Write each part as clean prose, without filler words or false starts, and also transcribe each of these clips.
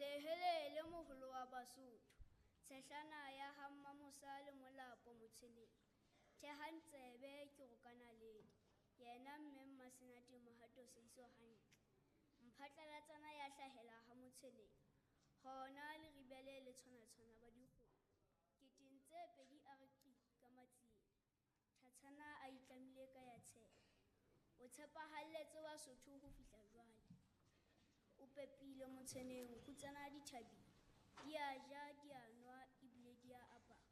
Hele hele moholo wa Basotho. Tshehlana ya ha Mmamosa le Molapo Motshweneng. Thehang tsebe ke roka naledi. Yena mme Mmasenate Mohato Seiso hantle. Mphatlalatsana ya hlahela ha Motshweneng. Hona Leribele le tshwanatshwana ba dikgomo. Keteng tse pedi a re qi ka matsieng. Thatshana a itlamile ka ya tshepe. O tshepahalletse Basotho ho fihla jwale. O pepile Motshweneng kgutsana di thabile. Di a ja, di a nwa ebile di a apara.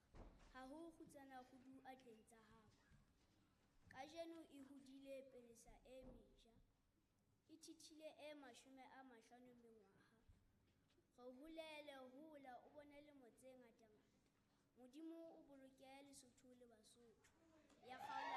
Ha ho kgutsana kgudu atleng tsa hao. Kajeno e hodile pelesa e meja. E thithile e 50 mengwaha. Re holele hola o bone lemo tse ngatangata. Modimo o boloke Lesotho le Basotho. Ya kgaolo.